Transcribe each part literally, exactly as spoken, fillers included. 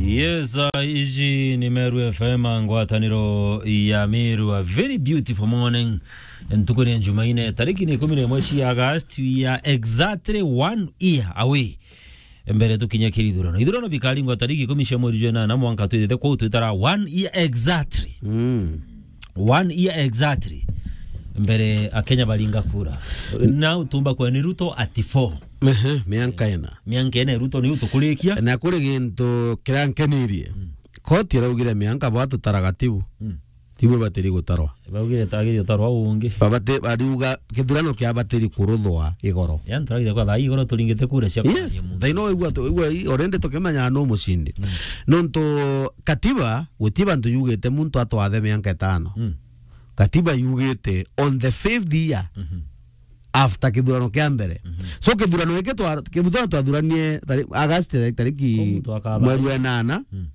Yes, uh, iji ni Meru F M, ngwataniro ya Meru. A very beautiful morning. Ntuku ni ya Jumaine, tariki ni ikumi na imwe cia August, we are exactly one year away mbere tukinya kiri ithurano. Ithurano bikaringwa tariki ikumi cia mweri jwa inana, mwanka twithite kwou twitara one year exactly. Mm. One year exactly. Mbere Akenya baringa kura. Na utumba kwa ni Ruto at four. Ehe, mianka ina. Mianka ina Ruto ni utukurikia. Na kuri gintu kiria nkenirie. Mm. Koti iraugire mianka bwa tutara gatibu. Mm. Tibu batiri gutarwa. Baugire tagiri utarwa ungi. Babate bariuga kithurano kia batiri kuruthwa igoro. Yani turagire kwa thaa igoro turingite kura cia. Yes, kanya muntu. Thaino igua tu, igua i, already tukimenya no mucindi. Mm. Nontu katiba, guti bantu yugite muntu atwathe mianka itano. Mm. Katiba yugite on the fifth year, mhm, after kithurano kia mbere. Mhm. So kithurano giki twa, kithurano twathuranie tari-, August tari-, tariki. Ko muntu akaba mweri wa inana. Mm.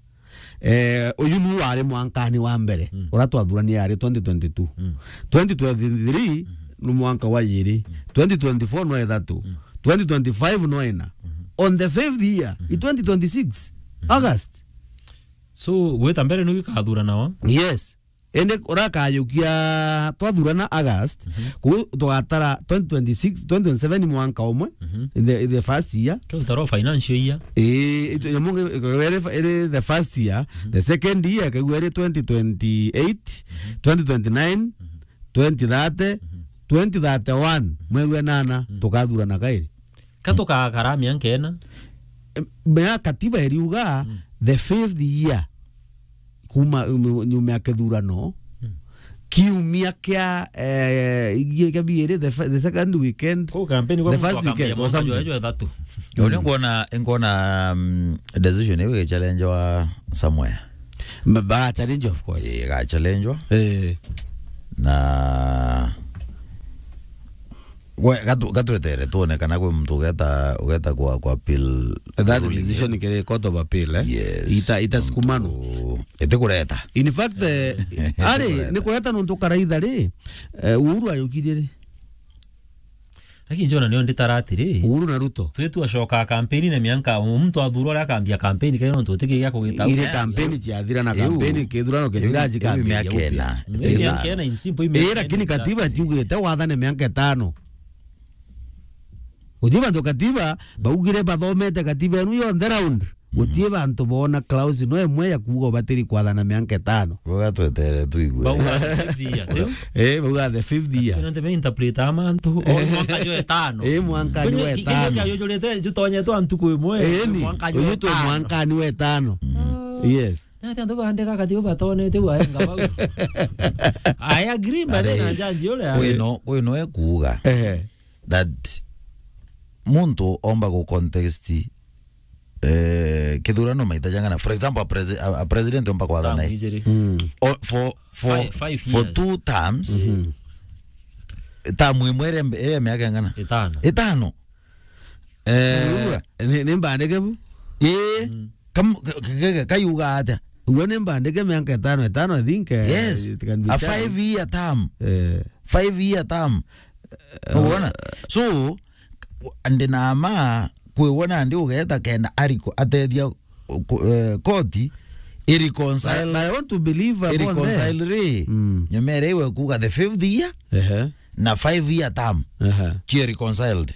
Eh, uyu nu wari mwankani wa mbere. Mm. Ura twathuranie yari twenty twenty-two. Mm. Twenty twenty-three, mhm, ni mwanka wa yiri. Mm. Twenty twenty-four no ithatu. Mm. Twenty twenty-five no ina. Mhm. On the fifth year, mhm, i twenty twenty-six, mhm, August. So, gwita mbere ni gikathuranawa? Yes. Indi urakayukia twathurana August, mhm, ku tugatara twenty twenty-six, twenty twenty-seven mwanka umwe, mhm, in the, in the first year. Tutaro financial year. Eh, itu, ya mungi, iri, iri the first year, mhm, the second year, kaigua iri twenty twenty-eight, mhm, twenty twenty-nine, mhm, twenty thirty, mhm, twenty thirty-one, mhm, mweri wa inana, mhm, tukathurana kairi. Ka tukakara mianka ina? Em, mea katiba iriuga, mm, the fifth year kuma, um, nyuma ya kithurano, mm, kiumia kia, eh, igie kia biiri, the fir-, the second weekend, ko kampeni kwa the muntu first weekend akambia or mwanka something. Jwa, jwa ithatu. Uni ngona, ngona, um, decision iu igichallengewa somewhere. Ma-, ba challenge, of course. Ii, igachallengewa. Eh. Na we, gatu-, gatwetere tuone kana kwi muntu ugeta, ugeta kwa, kwa appeal that ruling decision iu. Kiri Court of Appeal, eh? Yes. Ita-, itasukumano. Nontu itikureta. In fact, eh, ari, itikureta. Ni kureta nontu karaitha ri, eh, Uhuru ayukirie ri? Lakini njona nio nditara atiri. Uhuru na Ruto. Twi twacoka kampeni na mianka, muntu athurwa aria akambia kampeni, kayo nontu utiki gia kugita. Ire kampeni ciathira na iu, kampeni kithurano kithira iu, iu cikambiria miaka gupia. Ina. Mm, ithano. Miaka ina in simple, iu miaka ina. Ii, lakini katiba tiugite wathane mianka itano. Uti bantu katiba, baugire bathomete katiba enu yonthe round. Guti bantu boona clause no imwe ya kuuga ubatiri kwathana mianka itano. Uga twetere tuigue. Bauga fifth year, tiu? Eh, bauga the fifth year. Nontu me interpret amantu, o mwanka jwa itano. Eh, mwanka jwa itano. Kwenye ki-, kile kiajujurite jutonyetwe ntuku imwe, eh, ni, mwanka jwa itano. Uyu tu mwankani wa itano. Mm. Yes. Na ati antu bandika kati ubatonete waenga bau. I agree, but then, are, na jaji uria. Kwino, kwino ekuuga. Ehe. That muntu omba gu contest, eh, kithurano maita jangana. For example, a presi-, a, a president omba kwathana. Term ijiri. Mm. O, for, for, five, five years. For two terms, mhm, term imwe iri, iri miaka ingana? Itano. Itano. Eh, ni, ni mbandike bu? Ii. Mm. Kam-, ka-, ka-, ka-, kayuga atia? Uguo ni mbandike miaka itano, itano, I think, eh, yes, it can be a changed. Five year term. Eh. Five year term. Eh, nukwona? So, ndi na ma, kwi wona ndi ugeta kenda ariko atethia ku-, eh, koti i reconcile, but, but I want to believe upon i reconcile that. Ri. Mm. Nyumere iwe kuga the fifth year. Ehe. Na five year term. Aha. Cie reconciled.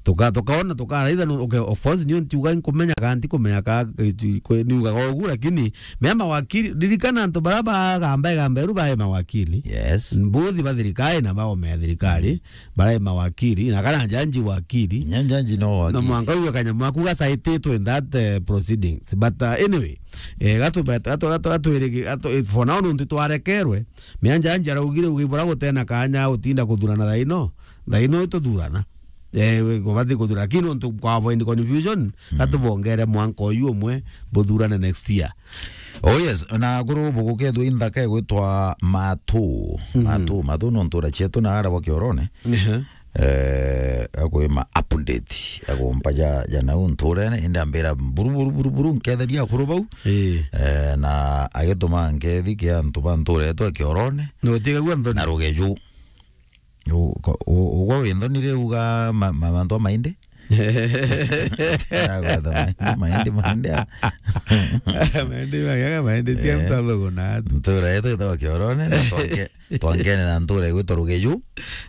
Tuka-, tukaona, tukaraitha, nu-, okay, of course, niyo ntiuga nkumenya ka, ntikumenya ka, eh, tu-, kwe-, niugaga ugu, lakini mea mawakili, ririkana antu bara bagamba igamba iru bae mawakili. Yes. Mbuthi ba thirikari na baome ya thirikari, mm, barai mawakili, na kana njanji wakili. Nya njanji no wakili. Na mwanka uyo kanyamu aku gacaititwe in that, eh, proceedings. But, uh, anyway, eh, gatu-, gatu-, gatu-, gatu-, gatu-, eh, for now, nuntu twarekerwe, Mianja anja araugire, ugi bura gutena kanya utinda kuthurana thaino, thaino ituthurana. Eh, we, kubati kuthura, lakini untu kwa avoid confusion, mm, katubongere mwanka uyu umwe buthurane next year. Oh yes, na kuru bugukethwa inthaka igwitwa Matu. Mhm. Matu, Matu no ntura cietu na ara bwa Kiorone. Ehe. Eh, akwima update, akumpa ja, ja nau nturene, indi ambira, "Buru, buru, buru, buru, nketheria akuru bau." Ii. Eh, na agituma nkethi kia antu ba ntura yetu ya Kiorone. Na utigagua nthoni. Na rugeju. U-, ko-, u-, ugwa wi nthoni riu uga ma-, ma-, mantu amaindi? Agweta maindi, maindi, maindi. Maindi, maindi, maindi, tia mtalogo na atu. Ntura yetu itawa Kiorone, na twange-, twangene na ntura igwitwa Rugeju.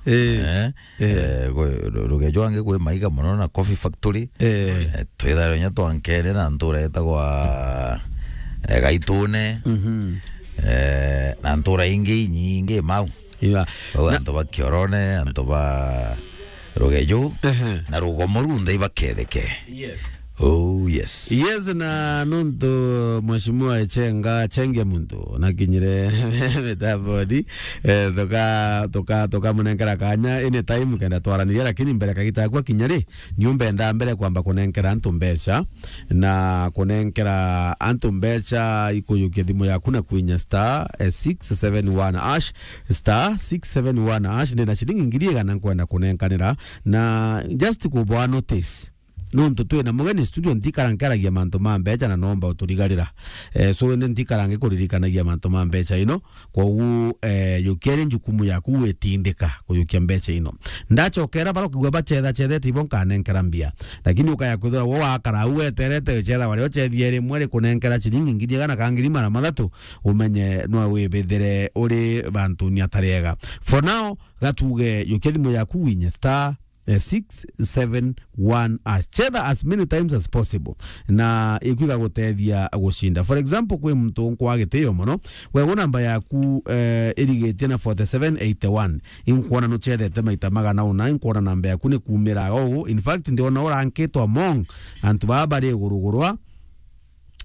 Eh, eh, kwi Ru-, Rugeju angi kwi maiga mono na Coffee Factory. Eh, twithare nya twankene na ntura itagwa, eh, Gaitune. Mhm. Eh, na ntura ingi inyingi mau. Iba. Bau antu ba Kiorone, antu ba Rugeju, ehe, na Rugomo runthe ibaketheke. Yes. Oh, yes. Yes, na nuntu Mheshimiwa Echenga, Chenge muntu, nakinyire mitaboni, eh, tuka-, tuka-, tukamunenkera kanya any time kenda twaraniria, lakini mbere kagita gakwa kinya ri, niumbenda mbere kwamba kunenkera antu mbeca, na kunenkera antu mbeca ikuyukia thimu yaku na kwinya star, eh, six seven one hash, star six seven one hash, ndina ciringi ngiri igana nkwenda kunenkanira, na just kubwa notice. Nontu twina mugeni studio, ntikara nkaragia mantu ma mbeca na nomba uturigarira. Eh, so indi ntikara ngikuririkanagia mantu ma mbeca ino. Kwogu, eh, yukia ri njukumu yaku gwitindika kuyukia mbeca ino. Ndachokera bara ukigua bacetha cethete ibo nkanenkera mbia. Lakini ukaya kwithira wo wakara au weterete, wicetha wari ocethie rimwe rikunenkera ciringi ngiri igana ka ngiri magana mathatu, umenye no wibithire uri bantuni atari ega. For now, gatuge yukia thimu yaku winye star, eh, six seven one hash. Chetha as many times as possible. Na iku igagutethia gucinda. For example, kwi muntu nkwa gitio mono, we namba yaku, eh, irigitie na forty seven eighty one. Inkwona nuchethete maita magana una, inkwona namba yaku ni kumira ugu. In fact, ndiona urankitwa among antu baba bari iguru gurwa.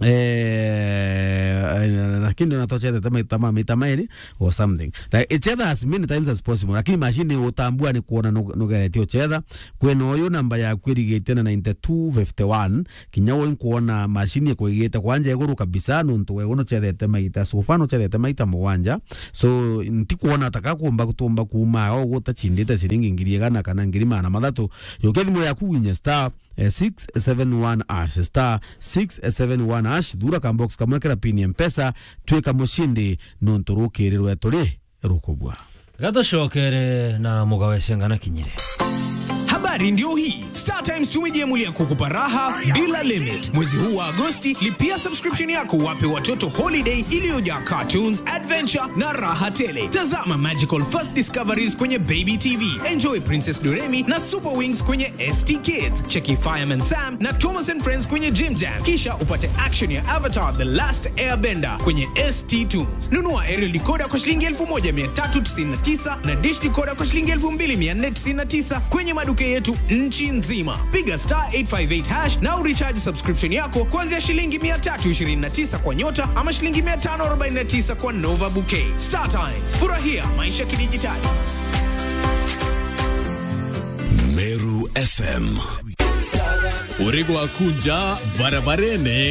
Eh, lakini ona twachethete maita ma, maita mairi or something. Like, chetha as many times as possible. Lakini machine utambua ni kuona nu-, nugeretie uchetha. Kwina uyu namba yaku irigitie na ninety two fifty one. Kinya uyu nkuona machine ikwigite kwanja iguru kabisa, nontu we uno chethete maita. So far nuchethete maita mugwanja. So, ntikuona taka kumba, kutumba kuma o gutachindite ciringi ngiri igana kana ngiri magana mathatu. Yukia thimu yaku winye star, eh, six seven one hash, star six seven one hash, thura ka box kamwe kera pin ya Mpesa, twika mucindi nontu rukiri rwetu ri rukubwa. Gatucokere na mugawe cengana kinyire. Habari ndio hii. Star Times tumejiamulia kukupa raha bila limit. Mwezi huu wa Agosti, lipia subscription yako, wape watoto holiday iliyojaa cartoons, adventure na raha tele. Tazama Magical First Discoveries kwenye Baby T V. Enjoy Princess Doremi na Super Wings kwenye S T Kids. Cheki Fireman Sam na Thomas and Friends kwenye Jim Jam. Kisha upate action ya Avatar: The Last Airbender kwenye S T Tunes. Nunua aerial decoder kwa shilingi elfu moja mia tatu tisini na tisa na dish decoder kwa shilingi elfu mbili mia nne tisini na tisa kwenye maduka yetu nchi nzima. Piga star eight five eight hash na urecharge subscription yako kuanzia shilingi mia tatu ishirini na tisa kwa Nyota ama shilingi mia tano arobaini na tisa kwa Nova Bouquet. Star Times, furahia maisha kidijitali. Meru F M. Uri gwaku nja barabarene